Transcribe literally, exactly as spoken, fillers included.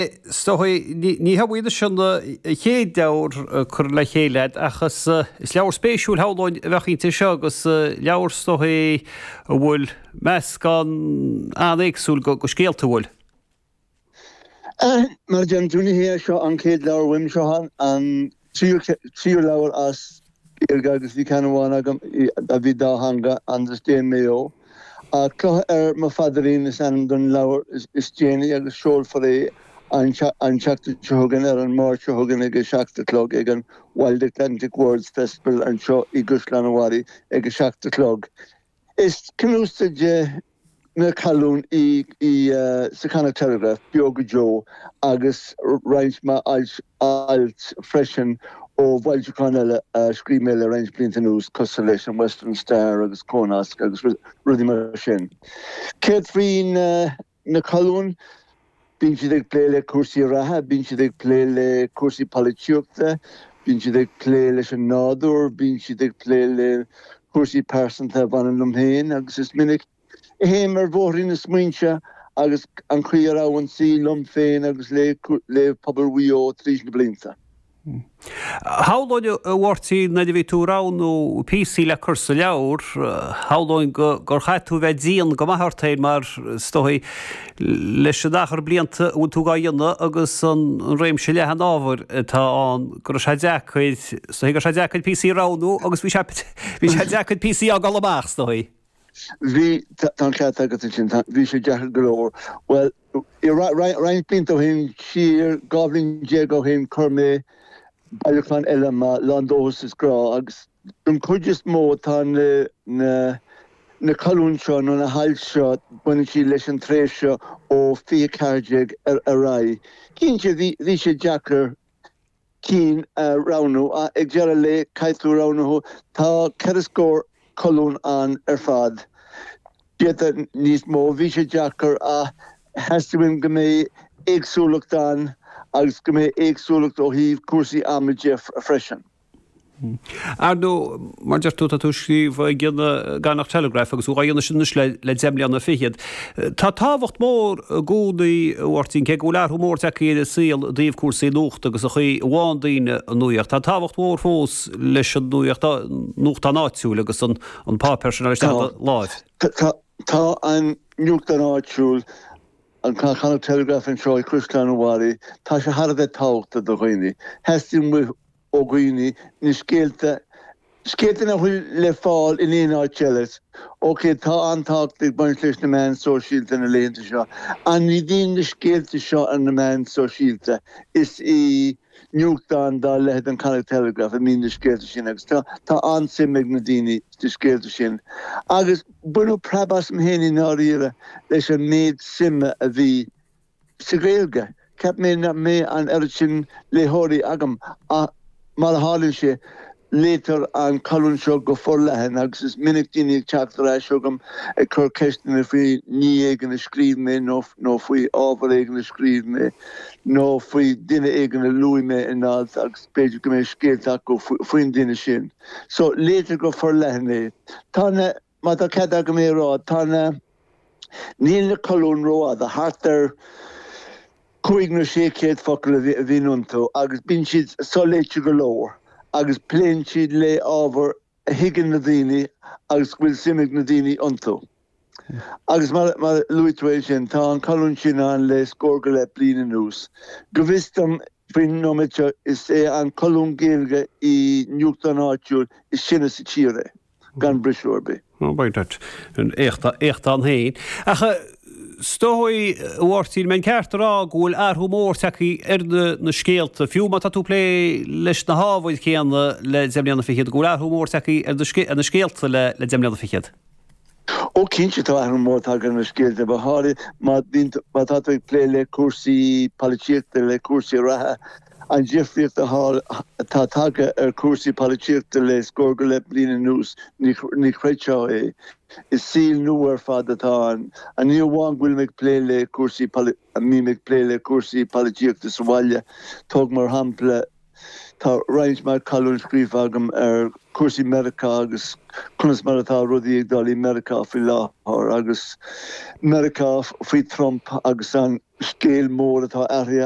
Is dóigh, ní hamháin sin an chéad leabhar curtha le chéile agat ach is leabhar spéisiúil shamhlóinn a bheadh inti seo agus leabhar is dóigh a bhfuil meascán an-éagsúil de scéalta a bhfuil. Mar a deireann tú, ní hé seo an chéad leabhar uaim, seo an tríú leabhar as Gaeilge agus bhí ceann amháin agam a bhí dátheangach, Andros Dé Maigh Eo. Clocha ar mo Phaidrín is ainm don leabhar is déanaí agus seolfar é an tseachtain seo chugainn, ar an Máirt seo chugainn ag a seacht a chlog ag an Wild Atlantic Words Festival anseo i gCaisleán an Bharraigh ag a seacht a chlog. Is cnuasaigh de na colúin í sa Connacht Telegraph, Beo go Deo, agus roinnt mhaith ailt freisin ó bhfoilseacháin eile a scríobh mé le roinnt blianta anuas, cosúil leis an Western Star agus Cónasc agus rudaí mar sin. Céard faoi na colúin? Bíonn siad ag plé le cúrsaí reatha, bíonn siad ag plé le cúrsaí polaitíochta, bíonn siad ag plé leis an nádúr, bíonn siad ag plé le cúrsaí pearsanta a bhaineann liom féin agus is minic a théim ar bhóithrín na smaointe agus an chaoi a raibh an saol liom féin agus le le pobal Mhaigh Eo tríd na blianta. Shamhlóinn, a Mháirtín, nuair a bhí tú ag roghnú píosaí le cur sa leabhar, shamhlóinn gur chaith tú bheith dian go maith ort féin mar, is dóigh, leis an achar blianta a bhfuil tú dhá dhéanamh agus an réimse leathan ábhair atá ann, go raibh sé deacair, is dóigh go raibh sé deacair píosaí a roghnú agus bhí sé bhí sé deacair píosaí a fhágáil amach, is dóigh. Bhí, tá an ceart agat ansin, bhí sé deacair go leor. Bhuel, roinnt blianta ó shin, siar dhá bhliain déag ó shin, chuir mé bailiúchán eile amach, Lán Dóchas is Grá, agus don chuid is mó tá na na na colúin seo nó na hailt seo, baineann siad leis an tréimhse ó fiche ceathair déag ar ar aghaidh. Cinnte, bhí bhí sé deacair cinn a roghnú ach ag deireadh an lae caithfidh tú roghnú. Tá ceithre scór colún ann ar fad. D'fhéadfadh níos mó. Bhí sé deacair ach theastaigh uaim go mbeidh éagsúlacht ann agus go mbeidh éagsúlacht ó thaobh cúrsaí ama de freisin. Ar ndóigh, mar deir tú, tá tú ag scríobh ag an gConnacht Telegraph agus tú á dhéanamh sin anois le deich mbliana fichead. Tá tábhacht mhór i gcónaí, a Mháirtín, cé go bhfuil athrú mór tagtha ar an saol i dtaobh cúrsaí nuachta agus an chaoi a bhfaigheann daoine an nuacht, tá tábhacht mhór fós leis an nuacht, nuachtán áitiúil agus an páipéar sin a fháil isteach i do láimh. Tá, tá an nuachtán áitiúil, an Connacht Telegraph anseo i gCaisleán an Bharraigh, tá sé thar a bheith tábhachtach do dhaoine. Theastaigh uaidh ó dhaoine na scéalta, scéalta nach bhfuil le fáil in aon áit eile. Ok, tá an-tábhacht ag baint leis na meáin sóisialta na laethanta seo, ach ní bhíonn na scéalta seo ar na meáin sóisialta. Is i nuachtán dá leithéid an Connacht Telegraph a mbíonn na scéalta sin agus tá tá an-suim ag na daoine sna scéalta sin. Agus baineadh preab asam féin i ndáiríre leis an méid suime a bhí sa Ghaeilge. Cheap mé nach mbeadh an oiread sin léitheoirí agam ach mar a tharlaíonn sé, léitear an colún seo go forleathan agus is minic daoine ag teacht ar ais chugam ag cur ceisteanna faoi ní éigin a scríobh mé nó nó faoi ábhar éigin a scríobh mé nó faoi duine éigin a luaigh mé in alt agus b'fhéidir go mbeidh scéalta acu faoin duine sin. So, léitear go forleathan é. Tá na, má tá cead agam é a rá, tá na, níl na colúin rófhada, thart ar cúig nó sé chéad focal a bhíonn iontu agus bíonn siad soléite go leor agus pléann siad le ábhar a thuigeann na daoine agus go bhfuil suim ag na daoine iontu. Agus mar a luaigh tú é sin, tá an colún sin ann le scór go leith bliain anuas. Go bhfios dom, faoin nóiméad seo, is é an colún Gaeilge i nuachtán áitiúil is sine sa tír é. gan briseadh ar bith. Éacht, éacht ann féin. Ach is dóigh, a Mháirtín, an mbeinn ceart a rá go bhfuil athrú mór tagtha ar na scéalta, fiú má tá tú ag plé leis na hábhair chéanna le deich mbliana fichead, go bhfuil athrú mór tagtha ar na scéalta le deich mbliana fichead? Ó cinnte tá athrú mór tagtha ar na scéalta, go háirithe má bhíonn, má tá tú ag plé le cúrsaí polaitíochta, le cúrsaí reatha. An difríocht atá tagtha ar chúrsaí polaitíochta le scór go leith bliain anuas, ní chreidfeá é. Is saol nua ar fad atá ann. Ní amháin go bhfuilim ag plé le cúrsaí, mbím ag plé le cúrsaí polaitíochta sa bhaile, tóg mar shampla Tá roinnt mhaith colún scríofa agam ar cúrsaí Meiriceá agus conas mar atá rudaí ag dul i Meiriceá faoi láthair agus Meiriceá faoi Trump agus an scéal mór atá athraithe.